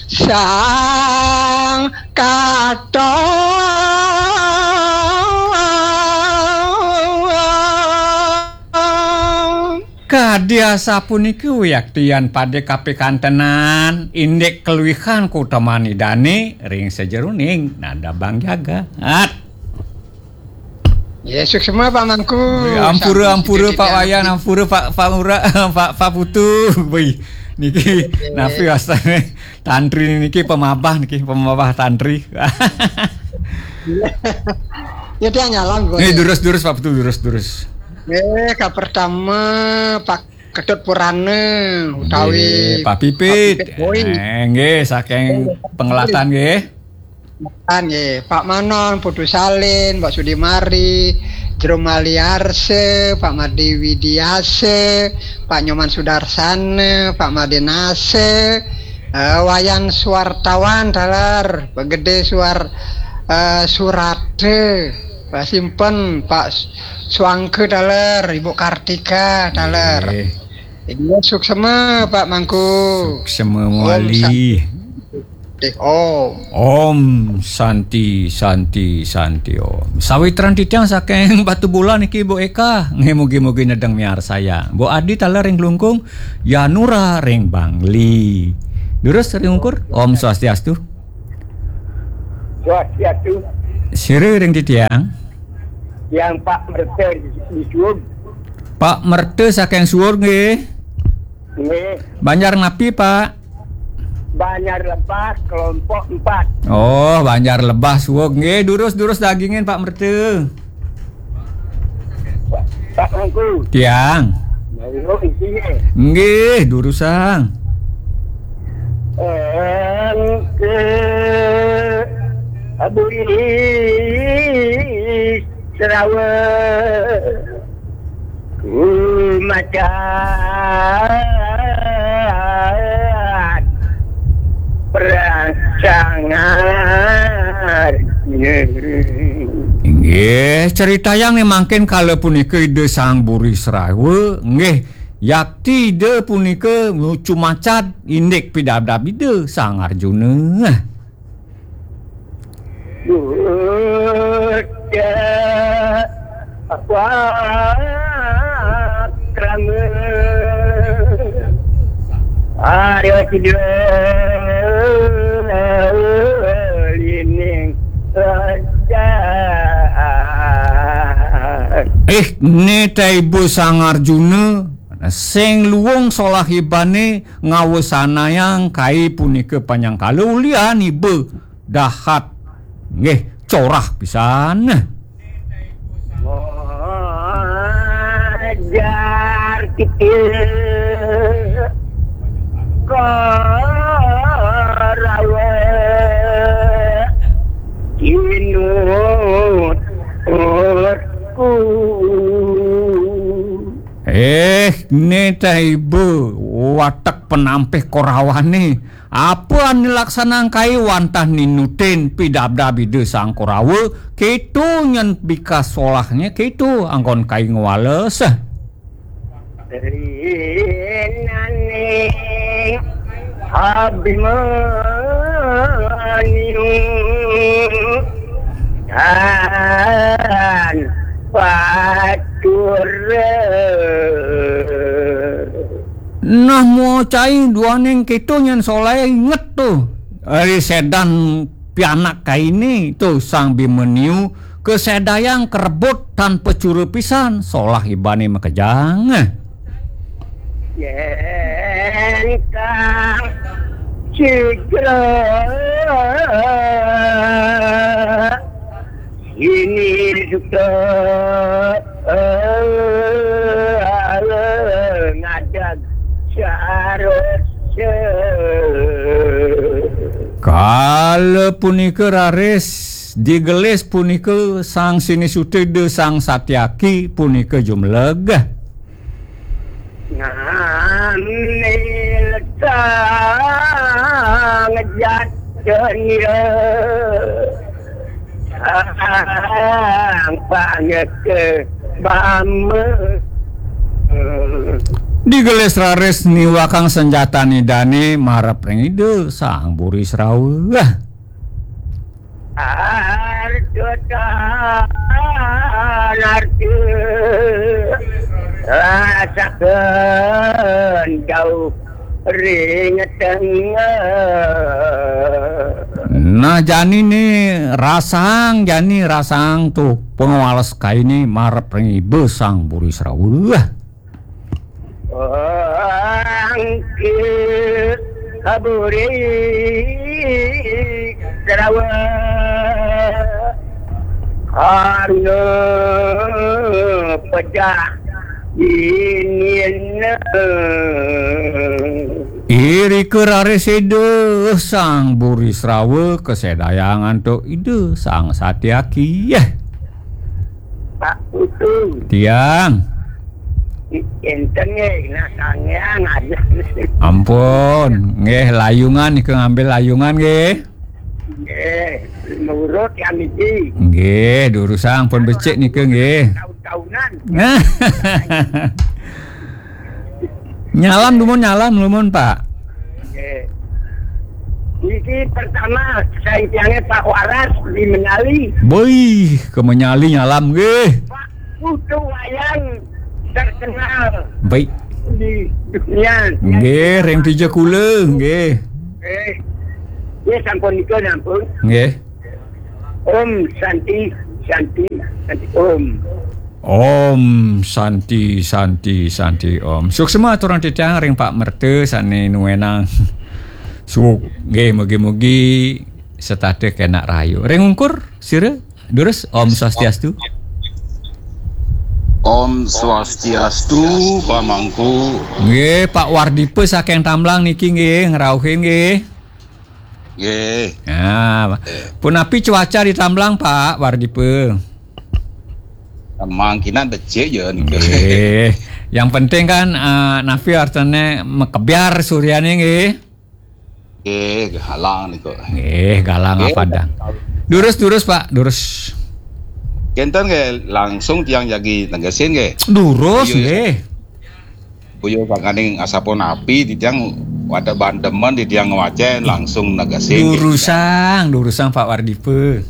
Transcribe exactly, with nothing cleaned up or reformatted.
Sang Katon. Kadi asapuniki wiaktian pada kapikantenan, indik kaluihan kautaman Idane ring sajeroning nada Bang Jagat. Ya, suksma Pak Mangku. Ampura, sampun ampura sida Pak Wayan, ampura Pak, Pak Ngurah, Pak, Pak Putu. Wih, niki napi wastane tantri niki, pamabah niki, pamabah tantri. Ya, dia nyalam kok. Nih, durus, durus, Pak Putu, durus, durus. Eh, kapertama, Pak Ketut Purana utawi Nggih, Pak Pipit. Pak Pipit Boy. Eh, nggih, saking Pengeladan nggih. Kan nggih, Pak Manon, Putu Salin, Mbak Sudimari, Jero Maliarse, Pak Made Widiase, Pak Nyoman Sudarsana, Pak Made Nase, eh, Wayan Suwartawan taler, Pak Gede Suwar, eh, Surate, Pak Simpen, Pak Swangke taler, Ibu Kartika taler. Nggih. Iya, suksema, Pak Mangku. Suksema Om mawali. Santi Om. Om Santi, Santi, Santi Om. Sawitran titiang saking Batubulan niki, Bu Eka. Nggih, mugi-mugi nedeng miarsayang. Bu Adi taler ring Klungkung, Yanura ring Bangli. Durus ring ungkur, Om Swastiastu. Swastiastu. Sira ring titiang. Yang Pak Merta di, di Suwung. Pak Merta saking Suwung nggih. Nggih. Banjar napi, Pak? Banjar Lebah, kelompok empat. Oh, Banjar Lebah Suwung nggih. Durus, durus dagingin, Pak Merta. Pak Mangku. Tiang. Mangku isinya. Nggih, durusang. Engke aburi Serawa kumacan perang sangar. Inggih, critayang nih mangkin kala punika Ida Sang Buri Serawa, nggih, yakti Ida punika nucu macan indik pidabdab Ida Sang Arjuna. Buddha pakrama Arya Sidra lining raja. Eh, ne ta ibu Sang Arjuna, sing luung solah ibane ngawasanayang kai punika panyangkala ulian iba dahat. Nggih, corah pisan. Ajar kita Korawa kinutku. Eh, ne ta iba watek penampih Korawane. Apa ane laksanang kai wantah ninutin pidabdab Ida Sang Korawa, keto nyen bikas solahnya, keto anggon kai ngwales. Rinane Abimanyu tan patura. Nah, muah cai duaning keto nyen soleh inget to. Ari sedan pianak kaini to Sang Bimanyu kasedayang karebut tan pacura pisan solah ibane makejang. Yen kang cigra ini suka ngadag sarasa. Kala punika raris digelis punika Sang Sinisuta Ida Sang Satyaki punika jumleg. Ngambil sang jatun ya sang pangke bama. Digelis raris niwakang senjatan Idane marep ring Ida Sang Burisrawa. Arjuna rasaken jauh ring tengah. Nah, jani ne rasang, jani rasang tuh pangwales kaine marep ring Ida Sang Burisrawa. Angkit kaburi serawa karena pecah dinin. Irika raris Ida Sang Burisrawa kasedayang antuk Ida Sang Satyaki. Pak Putu. Tiang. Enten nggih, nah sangean aja. Ampun, nggih layungan nika ngambil layungan nggih. Nggih, nurut ya niki. Nggih, durusang pun becik nika nggih. Tahun-tahunan. Nyalam dumun, nyalam lumun, Pak. Nggih. Niki pertama, saya tiangnya Pak Waras di Menyali. Boy, ke Menyali nyalam nggih. Pak Putu Wayang terkenal. Baik. Di dunia. Nggih, ring tija kula nggih. Eh. Ya sampun nika nampun. Nggih. Om Santi, Santi, Santi Om. Om Santi, Santi, Santi Om. Suksma aturang titiang ring Pak Merta sane nuenang suuk nggih, mugi-mugi setata kenak rahayu. Ring ungkur sira durus Om Swastiastu. Om Swastiastu, Pamangku. Nggih, Pak Wardipa saking Tamblang niki nggih ngrauhin nggih. Nggih. Nah, punapi cuaca di Tamblang, Pak Wardipa? Mangkinan becik ya nika. Nggih. Yang penting kan eh, napi artine makebyar suryane nggih. Nggih, galang nika. Nggih, galang. Nggih. Apa dan? Durus, durus, Pak, durus. Kenten nggih, langsung tiang jagi negesin nggih. Durus. Iya, iya. Nggih. Boya sangkaning asapunapi titiang wada bandemen titiang ngwacen langsung negesin. Durusang, durusang Pak Wardipa.